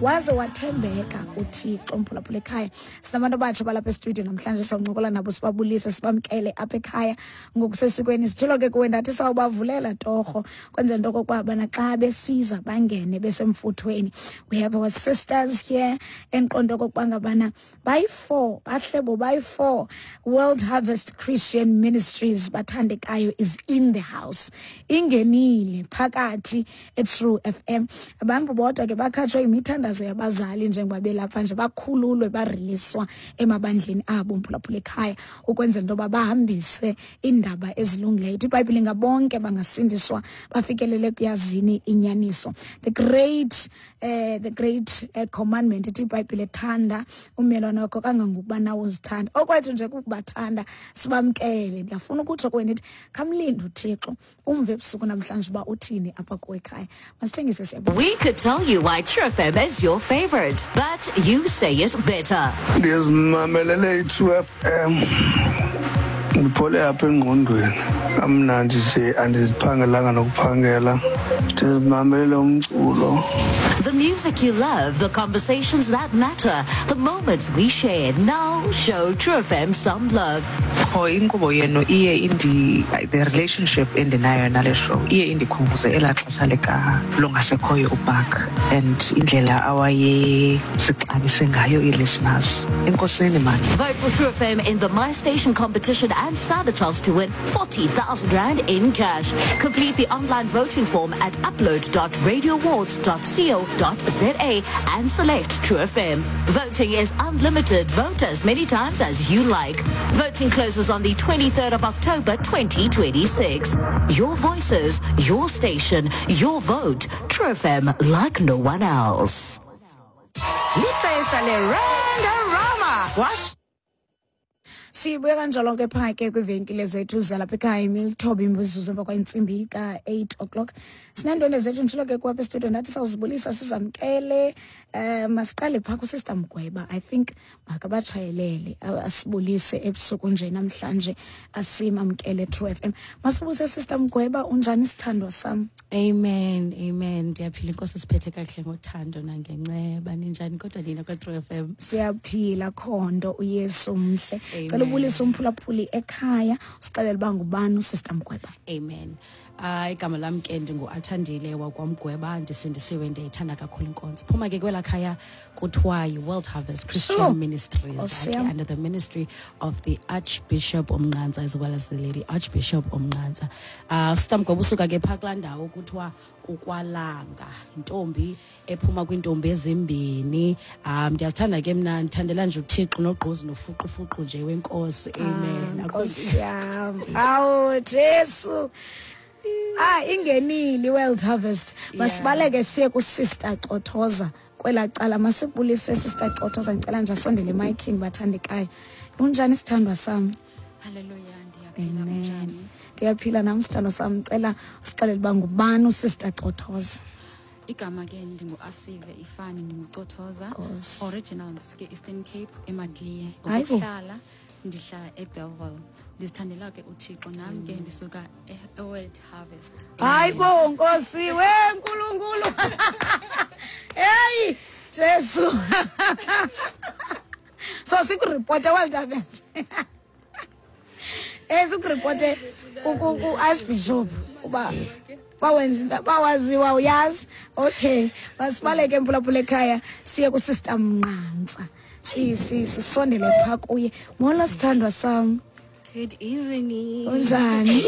Waze wathembeka uThixo. Mphulaphula ekhaya, sinabantu abatsha balapha estudio namhlanje, sawuncokola nabo, sibabulise, sibamkele apha ekhaya ngokusesikweni. Sitshilo ke kuwe ndathi sawubavulela torho kwenzela into okokuba bana xa besiza bangene besemfuthweni. We have our sisters here endiqonda okokuba ngabana bayi-4, bahlebo bayi-4. World Harvest Christian Ministries bathandekayo is in the house, ingenile phakathi eTrue FM. Abantu bodwa ke bakhatshwe imithandazo yabazali njengoba belapha nje, bakhululwe, bariliswa emabandleni abo, mphulaphula ekhaya, ukwenzela into yoba bahambise iindaba ezilungileyo. Ithi iBhayibhile ngabonke bangasindiswa bafikelele kuyazini inyaniso. The great commandment, ithi iBhayibhile, thanda ummelwane wakho kangangokuba nawe uzithanda. Okwethu nje kukubathanda, sibamkele. Ndiyafuna ukutsho kuwe ndithi khamlinde uThixo, umve ebusuku namhlanje uba uthini apha kuwe ekhaya. Masithengise, siyabuya. We could tell you why True FM is your favorite, but you say it better. Ndizimamelele i-True FM, ndiphole apha engqondweni kamnandi nje, andiziphangelanga nokuphangela, ndizimamelele umculo. The music you love, the conversations that matter, the moments we share. Now show True FM some love. Qho inkqubo yenu iye indi the relationship endinayo nale show iye indikhumbuze elaa xesha lika longasekhoyo uBark and indlela awayesixabise ngayo ii-listeners. Enkosini mani. Vote for True FM in the My Station competition and stand a chance to win 40,000 Rand in cash. Complete the online voting form at upload.radioawards.co.za and select True FM. Voting is unlimited. Vote as many times as you like. Voting closes on the 23rd of October 2026. Your voices, your station, your vote. True FM, like no one else. Lixesha le-Randorama wash. Sibuye kanjalo ke phaa ke kwiivenkile zethu zalapha ekhaya, imilithoba imizuzu emva kwentsimbi ka-8 o'clock. Sineendwendwe zethu, nditshilo ke kwapha estudio ndathi sawuzibulisa, sizamkele. Masiqale phaa kuSister Mgweba. I think makabatshayelele, asibulise ebusuku nje namhlanje, asimamkele True FM. Masibuse, Sister Mgweba, unjani, sithandwa sam? Amen, amen. Ndiyaphila, inkosi siphethe kakuhle ngothando nangenceba. Ninjani kodwa nina kwa-True FM? Siyaphila khondo, uYesu mhle. Amen. Cela ubulise umphulaphuli ekhaya, usixelele uba ngubani uSister Mgweba. Amen. Igama lam ke ndingu-Athandile wakwaMgweba, ndisindisiwe, ndiyayithanda kakhulu inkonzo. Phuma ke kwelaa khaya kuthiwa yi-World Harvest Christian Ministries, Nkosi ke yam. under the ministry of the Archbishop Omnqantsa as well as the Lady Archbishop Omnqantsa. Sister Mgweba usuka ke phaa kulaa ndawo kuthiwa kukwalanga, intombi ephuma kwiintombi ezimbini. Ndiyazithanda ke mna, ndithandela nje uThixo nogqozi nofuqufuqu nje wenkosi. Amen. Ah, Nkosi yam, awu Jesu, ah, ingenile i-World Harvest. Masibaleke siye kuSister Cothoza kwelaa cala. Masikubulise, Sister Cothoza. Ndicela nje asondele emayikhini, bathandekayo. Unjani, sithandwa sam? Haleluya, ndiyaphila. Amen. Unjani? Ndiyaphila nam, sithandwa sam. Cela usixelele uba ngubani uSister Cothoza. Igama ke ndingu-Asive ifani, ndingucothoza. Nkosi. Original ndisuke Eastern Cape, eMadliye. Hayi bo. Ngokuhlala ndihlala eBellville. Ndizithandela ke uThixo, nam ke ndisuka eWorld Harvest. Hayi bo, nkosi we nkulunkulu, heyi Jesu, so sikuripote World Harvest, sikuripote ku-Archbishop uba bawenza into bawaziwa, uyazi. Okay, masibaleke, mphulaphula ekhaya, siye kuSister Mnqantsa, sisondele phaa kuye. Molo, sithandwa sam. Good evening. Unjani?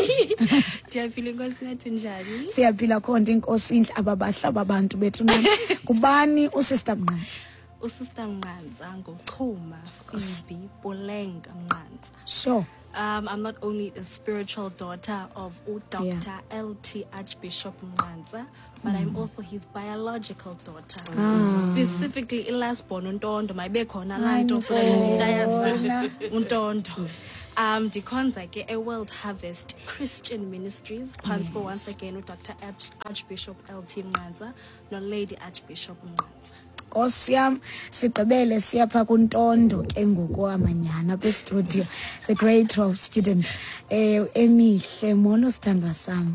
Ndiyaphila, inkosi nathi, njani? Siyaphila khonto, inkosi intle. Ababahle aba bantu bethu nani. Ngubani uSister Mnqantsa? USister Mnqantsa nguChuma Phoebe Polenga Mnqantsa. I'm not only a spiritual daughter of Dr. L.T. Archbishop Mnqantsa, but I'm also his biological daughter. Specifically, i-last born, uNtondo, mayibe khona laa nto so that ndayazi uba uNtondo. Ndikhonza ke eWorld Harvest Christian Ministries phantsi ko once again uDr. Archbishop L.T. Mnqantsa noLady Archbishop Mnqantsa. Nkosi yam, sigqibele siyapha kuNtondo ke ngoku amanyana apha estudio, the grade 12 student, emihle. Molo, sithandwa sam.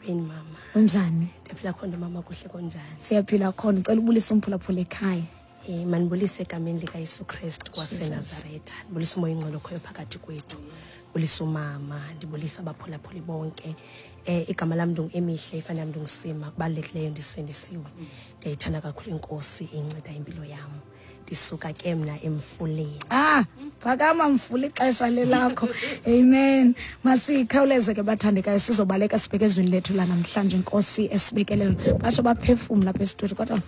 Molweni mama. Unjani? Ndiyaphila khona mama, kuhle kunjani? Siyaphila khona. Ucela ubulise umphulaphula ekhaya. Mandibulise egameni likaYesu Kristu waseNazaretha. Ndibulise umoya oyingcwele okhoyo phakathi kwethu. Ndibulise umama, ndibulise abaphulaphuli bonke. Igama lam ndingu-Emihle, ifani yam ndinguSima. Kubalulekileyo ndisindisiwe. Ndiyayithanda kakhulu iNkosi, inceda impilo yam. Ndisuka ke mna emfuleni. Phakama mfula, ixesha lelakho. Amen. Masikhawuleze ke bathandekayo, sizobaleka sibheke ezweni lethu lanamhlanje. Inkosi esibekelelo. Batsho baphefumla apha esitudio kodwa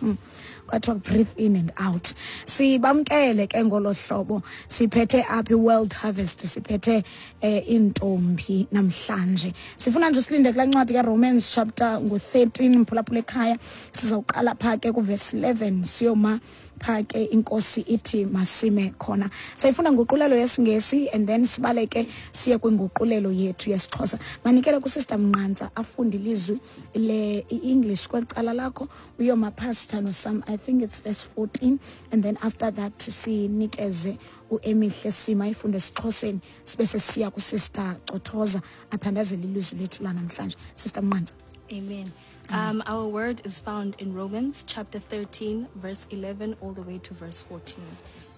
kwathiwa breathe in and out. Sibamkele ke ngolo hlobo. Siphethe apha i-World Harvest, siphethe iintombi namhlanje. Sifuna nje usilinde kulaa ncwadi kaRomans chapter ngu-13, mphulaphula ekhaya. Sizawuqala phaa ke kuverse 11 siyoma phaa ke inkosi ithi masime khona. Sayifuna nguqulelo yesiNgesi and then sibaleke siye kwinguqulelo yethu yesiXhosa. Manikele kuSister Mnqantsa afunde ilizwi le i-English kweli cala lakho, uyoma pastor nosam, I think it's verse 14, and then after that sinikeze uEmihle Sima ifunde esiXhoseni, sibe sesiya kuSister Cothoza athandazele ilizwi lethu lanamhlanje. Sister Mnqantsa. Amen. Our word is found in Romans chapter 13, verse 11, all the way to verse 14.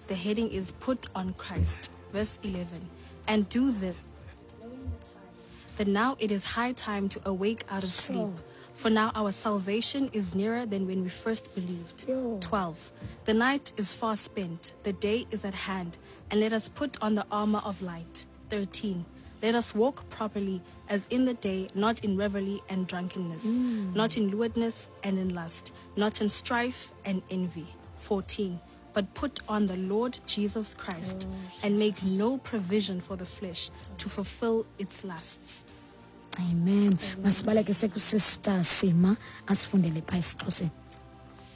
The heading is Put on Christ. Verse 11. And do this, that now it is high time to awake out of sleep. For now our salvation is nearer than when we first believed. 12. The night is far spent, the day is at hand, and let us put on the armor of light. 13. Let us walk properly as in the day, not in revelry and drunkenness, not in lewdness and in lust, not in strife and envy. 14. But put on the Lord Jesus Christ and make no provision for the flesh to fulfill its lusts. Amen. Masibaleke sekuSister Sima asifundele phaa esiXhoseni.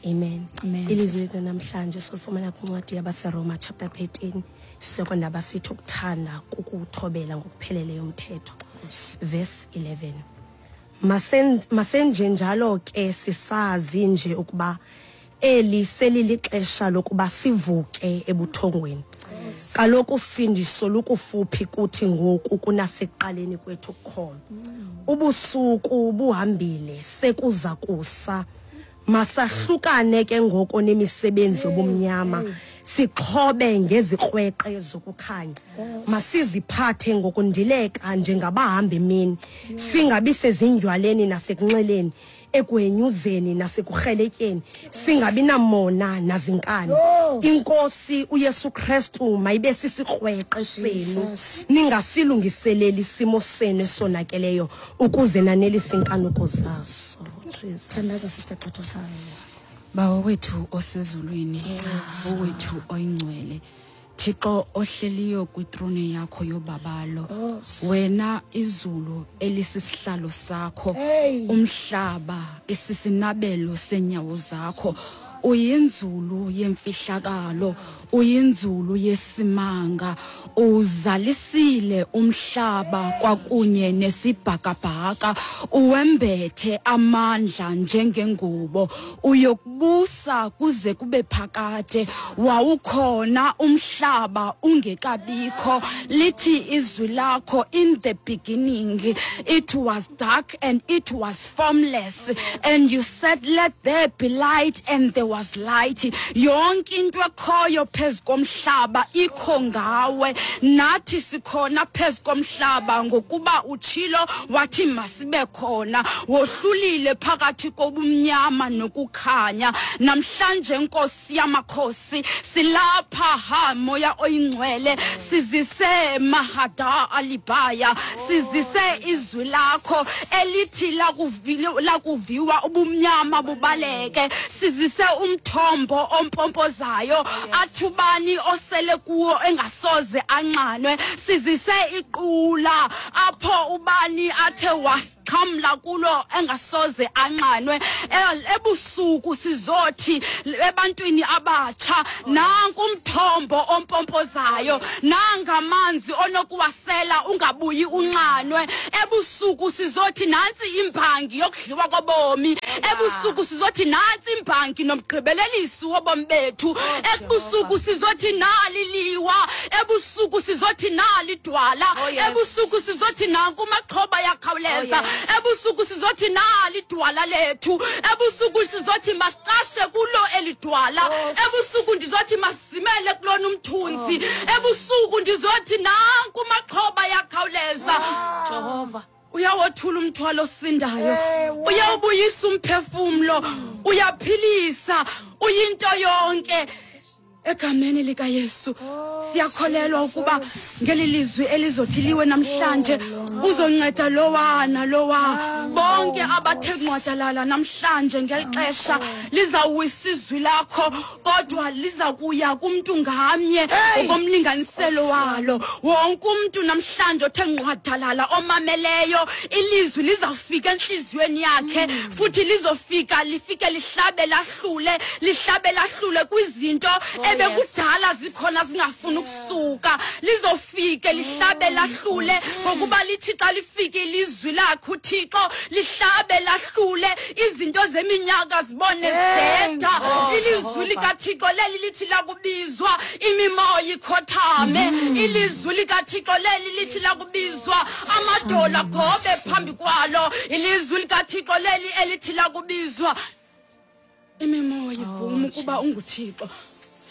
Amen. Amen. Ilizwi lethu namhlanje solifumana kwincwadi yabaseRoma chapter 13. Isihloko ndaba sithi ukuthanda kukuthobela ngokupheleleyo umthetho. Verse 11. Masenje njalo ke sisazi nje ukuba eli selilixesha lokuba sivuke ebuthongweni. Kaloku usindiso lukufuphi kuthi ngoku kunasekuqaleni kwethu ukukholwa. Ubusuku buhambile, sekuza kusa. Masahlukane ke ngoko nemisebenzi yobumnyama, sixhobe ngezikrweqe zokukhanya. Masiziphathe ngokundileka njengabahamba emini, singabi sezindywaleni nasekunxileni, ekwenyuzeni nasekurheletyeni, singabi namona nazinkani. Inkosi uYesu Kristu mayibe sisikrweqe senu, ningasilungiseleli isimo senu esonakeleyo ukuze nanelise inkanuko zaso. Jesus. Thandaza Sister Cothoza. Bawo wethu osezulwini, Bawo wethu oyingcwele, Thixo ohleliyo kwitrone yakho yobabalo, wena izulu elisisihlalo sakho, umhlaba isisinabelo senyawo zakho, uyinzulu yemfihlakalo, uyinzulu yesimanga, uzalisile umhlaba kwakunye nesibhakabhaka, uwembethe amandla njengengubo, uyokubusa kuze kube phakade. Wawukhona umhlaba ungekabikho. Lithi izwi lakho, in the beginning it was dark and it was formless, and you said, let there be light, and there was light. Yonke into ekhoyo phezu komhlaba ikho ngawe, nathi sikhona phezu komhlaba ngokuba utshilo wathi masibe khona. Wohlulile phakathi kobumnyama nokukhanya. Namhlanje Nkosi yamakhosi silapha, ha moya oyingcwele, sizise mahada alibaya, sizise izwi lakho elithi lakuviwa ubumnyama bubaleke, sizise umthombo ompompozayo athi ubani osele kuwo engasoze anxanwe, sizise iqula apho ubani athe wasixhamla kulo engasoze anxanwe. Ebusuku sizothi ebantwini abatsha, nanku umthombo ompompozayo, nangamanzi onokuwasela ungabuyi unxanwe. Ebusuku sizothi nantsi imbangi yokudliwa kobomi. Ebusuku sizothi nantsi imbangi nomgqibelelisi wobomi bethu. Ebusuku sizothi nali liwa. Ebusuku sizothi nali dwala. Ebusuku sizothi nanku maxhoba yakhawuleza. Ebusuku sizothi nali idwala lethu. Ebusuku sizothi masiqashe kulo eli dwala. Ebusuku ndizothi masimele kulona umthunzi. Ebusuku ndizothi nanku maxhoba yakhawuleza. Jehova. Uyawothula umthwalo osindayo, uyawubuyisa umphefumlo, uyaphilisa, uyinto yonke. Egameni likaYesu siyakholelwa ukuba ngeli lizwi elizothi liwe namhlanje uzonceda lowa nalowa, bonke abathe ngqwadalala namhlanje ngeli xesha lizawuwisa izwi lakho, kodwa liza kuya kumntu ngamnye ngokomlinganiselo walo. Wonke umntu namhlanje othe ngqwadalala omameleyo ilizwi lizawufika entliziyweni yakhe, futhi lizofika lifike lihlabe lahlule, lihlabe lahlule kwizinto ebekudala zikhona zingafuni ukusuka. Lizofike lihlabe lahlule, ngokuba lithi xa lifike ilizwi lakhe uThixo lihlabe lahlule izinto zeminyaka zibone zideda. Ilizwi likaThixo leli lithi lakubizwa imimoya ikhothame. Ilizwi likaThixo leli lithi lakubizwa amadola agobe phambi kwalo. Ilizwi likaThixo leli elithi lakubizwa imimoya ivume ukuba unguThixo.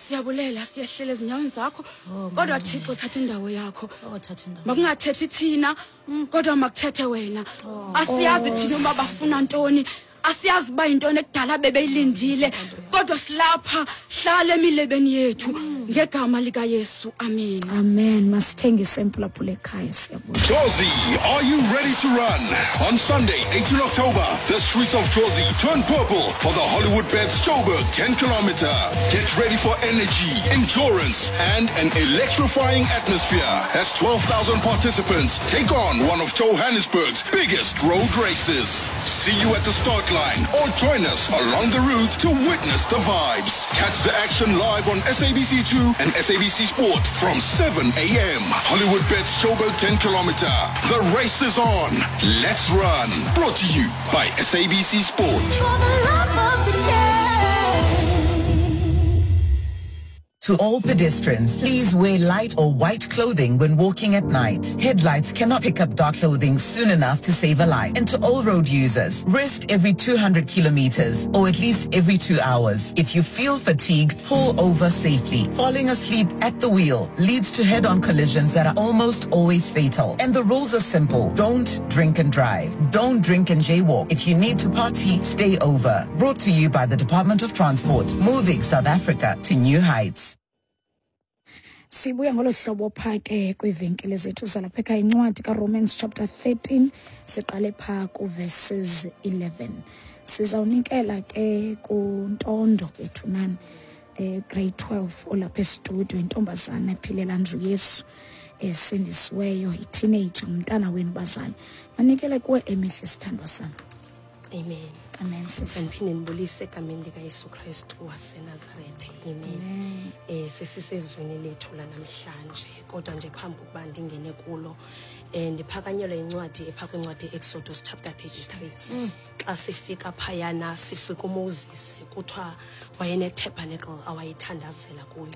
Siyabulela, siyehlela ezinyaweni zakho, kodwa Thixo thatha indawo yakho. Thatha indawo. Makungathethi thina, kodwa makuthethe wena. Asiyazi thina uba bafuna ntoni, asiyazi uba yintoni ekudala bebeyilindile, kodwa silapha, hlala emilebeni yethu ngegama likaYesu. Amen. Amen. Masithengise mphulaphula ekhaya, siyabonga. Jozi, are you ready to run? On Sunday, 18 October, the streets of Jozi turn purple for the Hollywoodbets Joburg 10 kilometer. Get ready for energy, endurance, and an electrifying atmosphere as 12,000 participants take on one of Johannesburg's biggest road races. See you at the start line or join us along the route to witness the vibes. Catch the action live on SABC2 and SABC Sport from 7 a.m. Hollywoodbets Joburg 10 kilometer. The race is on. Let's run. Brought to you by SABC Sport. For the love of the game. To all pedestrians, please wear light or white clothing when walking at night. Headlights cannot pick up dark clothing soon enough to save a life. And to all road users, rest every 200 kilometers or at least every 2 hours. If you feel fatigued, pull over safely. Falling asleep at the wheel leads to head-on collisions that are almost always fatal. And the rules are simple. Don't drink and drive. Don't drink and jaywalk. If you need to party, stay over. Brought to you by the Department of Transport, moving South Africa to new heights. Sibuya ngolo hlobo pha ke kwiivenkile zethu zalapha ekhaya. Incwadi kaRomans chapter 13, siqale pha kuverses 11. Sizawunikela ke kuNtondo bethunani, grade 12 olapha estudio, intombazana ephilela nje uYesu, esindisiweyo, i-teenager, umntana wenu bazali. Manikele kuwe emihle, sithandwa sam. Amen. Amen, sis. Andiphinde ndibulise egameni likaYesu Kristu waseNazarethe. Amen. Sesisezwini lethu lanamhlanje, kodwa nje phambi kokuba ndingene kulo, ndiphakanyelwe incwadi epha kwincwadi Exodus chapter 33. Xa sifika phayana sifika uMoses, kuthiwa wayene-tabernacle awayithandazela kuyo.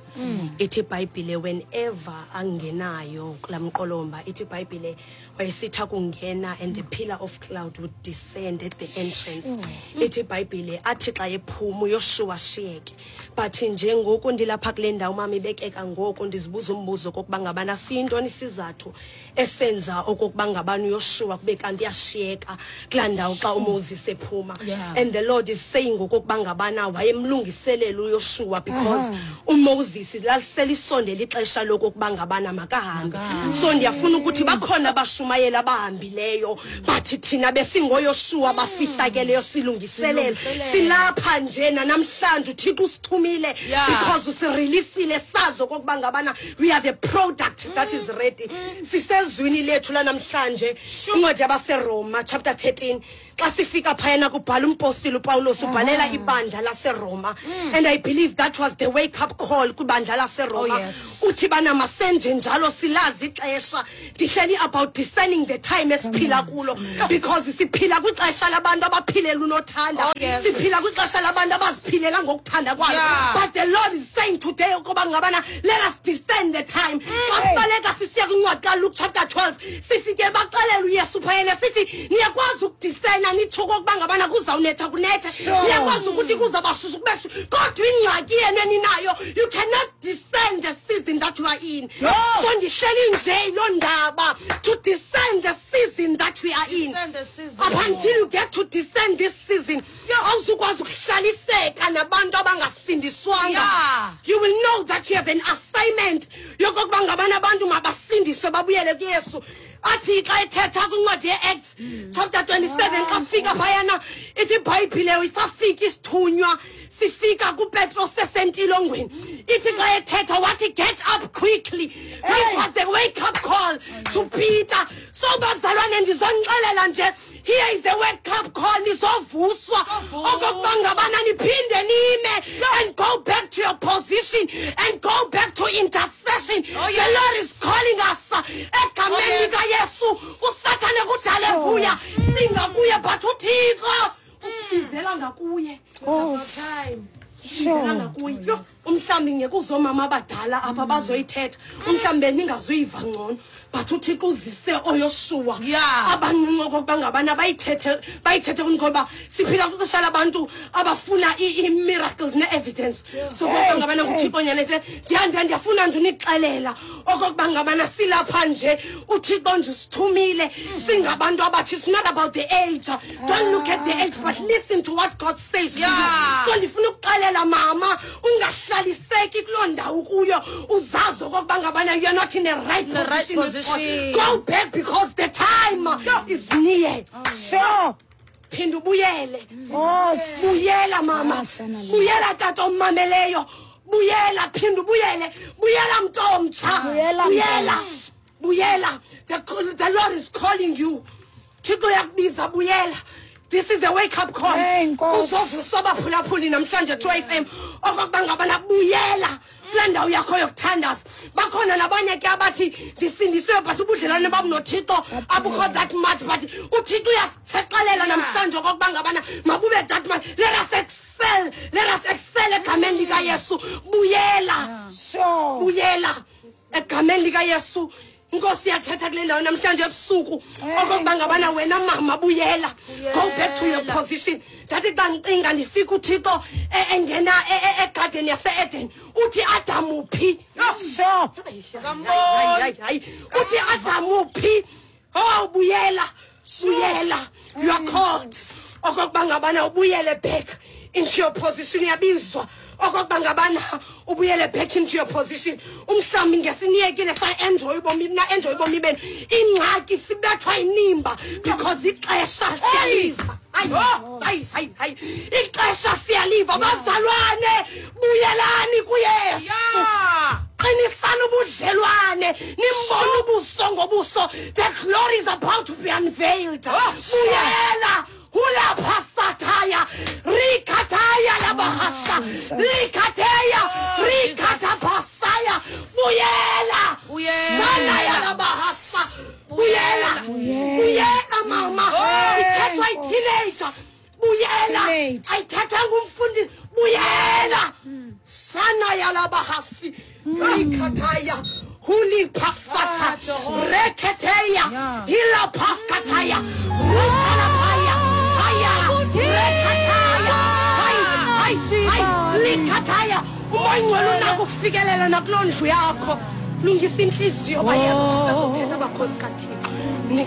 Ithi iBhayibhile whenever angenayo kulaa mqolomba, ithi iBhayibhile wayesitha kungena and the pillar of cloud would descend at the entrance. Ithi iBhayibhile athi xa ephuma uYoshua shiyeke. But njengoku ndilapha kule ndawo mama ibekeka ngoku, ndizibuza umbuzo kokuba ngabana siyintoni isizathu esenza okokuba ngabana uYoshua kube kanti uyashiyeka kulaa ndawo xa uMoses ephuma. And the Lord is saying okokuba ngabana wayemlungiselela uYoshua because uMoses laliselisondela ixesha lokokuba ngabana makahambe. So ndiyafuna ukuthi bakhona abashumayeli abahambileyo, but thina besingoYoshua bafihlakeleyo silungiselela. Silapha nje namhlanje uThixo usithumile because usireleasile sazi okokuba ngabana we are the product that is ready. Sisezwini lethu lanamhlanje, incwadi yabaseRoma chapter 13. Xa sifika phayana kubhala umpostile uPawulos, ubhalela ibandla laseRoma, and I believe that was the wake up call kwibandla laseRoma. Oh, yes. Uthi bana masenje njalo, silazi ixesha. Ndihleli about discerning the time esiphila kulo, because siphila kwixesha labantu abaphilela unothanda. Oh, yes. Siphila kwixesha labantu abaziphilela ngokuthanda kwalo. But the Lord is saying today ukuba ngabana let us discern the time. Xa sibaleka sisiya kwincwadi kaLuke chapter 12, sifike baxelela uYesu phayena, sithi niyakwazi ukudiscerna, nitsho okokuba ngabana kuzawunetha kunethe. Niyakwazi ukuthi kuzawuba shushu kube shushu, kodwa ingxaki yenu eninayo, you cannot discern the season that you are in. So ndihleli nje yiloo ndaba, to discern the season that we are in. Discern the season. Up until you get to discern this season, awuzukwazi ukuhlaliseka nabantu abangasindiswanga. You will know that you have an assignment yokokuba ngabana abantu mabasindiswe, babuyele kuYesu. Athi xa ethetha kwincwadi ye-Acts chapter 27, xa sifika phayana, ithi iBhayibhile isafika isithunywa sifika kuPetros sesentilongweni, ithi xa ethetha wathi, "Get up quickly," which was the wake up call to Peter. So bazalwane, ndizonixelela nje, here is the wake up call. Nizovuswa okokuba ngabana niphinde nime and go back to your position and go back to intercession. The Lord is calling us egameni likaYesu. USathane kudala evuya singakuye, but uThixo usibizela ngakuye. Sibizela ngakuye. Yho, umhlawumbi ngeke uzomama abadala apha bazoyithetha, umhlawumbi ningazuyiva ngcono, but uThixo uzise oYoshuwa abancinci okokuba ngabana bayithethe, bayithethe kuni, ngoba siphila kwixesha labantu abafuna ii-miracles ne-evidence. So kokuba ngabana nguThixo nyanese, ndiyafuna nje unixelela okokuba ngabana silapha nje, uThixo nje usithumile singabantu abatsha. It's not about the age. Don't look at the age, but listen to what God says to you. So ndifuna ukuxelela mama, ungahlaliseki kuloo ndawo kuyo, uzazi okokuba ngabana you're not in the right The right position with God. position. Go back, because the time is near. Phinda ubuyele. Buyela mama, buyela tata omameleyo, buyela, phinda ubuyele, buyela mntu omtsha. Buyela, buyela. mntu. Buyela. The Lord is calling you. Thixo uyakubiza, buyela. This is a wake up call. Hey, Nkosi. Uzovuswa abaphulaphuli namhlanje 2 FM okokuba ngabana buyela kulaa ndawo yakho yokuthandaza. Bakhona nabanye ke abathi ndisindisiwe, but ubudlelwane bam noThixo abukho that much, but uThixo uyasithexelela namhlanje okokuba ngabana mabube that much. Let us excel, let us excel egameni likaYesu. Buyela. Buyela egameni likaYesu. Inkosi iyathetha kule ndawo namhlanje ebusuku okokuba ngabana wena mama, buyela, go back to your position. Ndathi xa ndicinga, ndifika uThixo engena egadeni yase-Eden, uthi, "Adamu phi?" Hayi, hayi, hayi. Uthi, "Adamu phi?" Oh, buyela, buyela. You are called okokuba ngabana ubuyele back into your position. Uyabizwa okokuba ngabana ubuyele back into your position. Umhlawumbi ngesiniyekile sa-enjoy ubomi, na-enjoy ubomi benu. Ingxaki sibethwa inimba because ixesha siyaliva. Hayi, hayi, hayi, hayi, ixesha siyaliva. Bazalwane, buyelani kuYesu. Qinisani ubudlelwane, nimbone ubuso ngobuso. The glory is about to be unveiled. Buyela. Hulaphasataya rikataya labahasa rikateya rikatapasaya. Buyela. Buyela. Sanaya labahasa. Buyela, buyela mama. Ithethwa yi-teenager, buyela. Teenage. Ayithethwa ngumfundisi, buyela. Sana yalabahasi rikataya huliphasatha reketeya hilapaskataya rukalapaya haya rekataya hayi, hayi, hayi, likataya. Umoya ingcwele unako ukufikelela nakuloo ndlu yakho. Lungisa intliziyo, bayeza, sezothetha abakhonzi kaThixo. Nikela.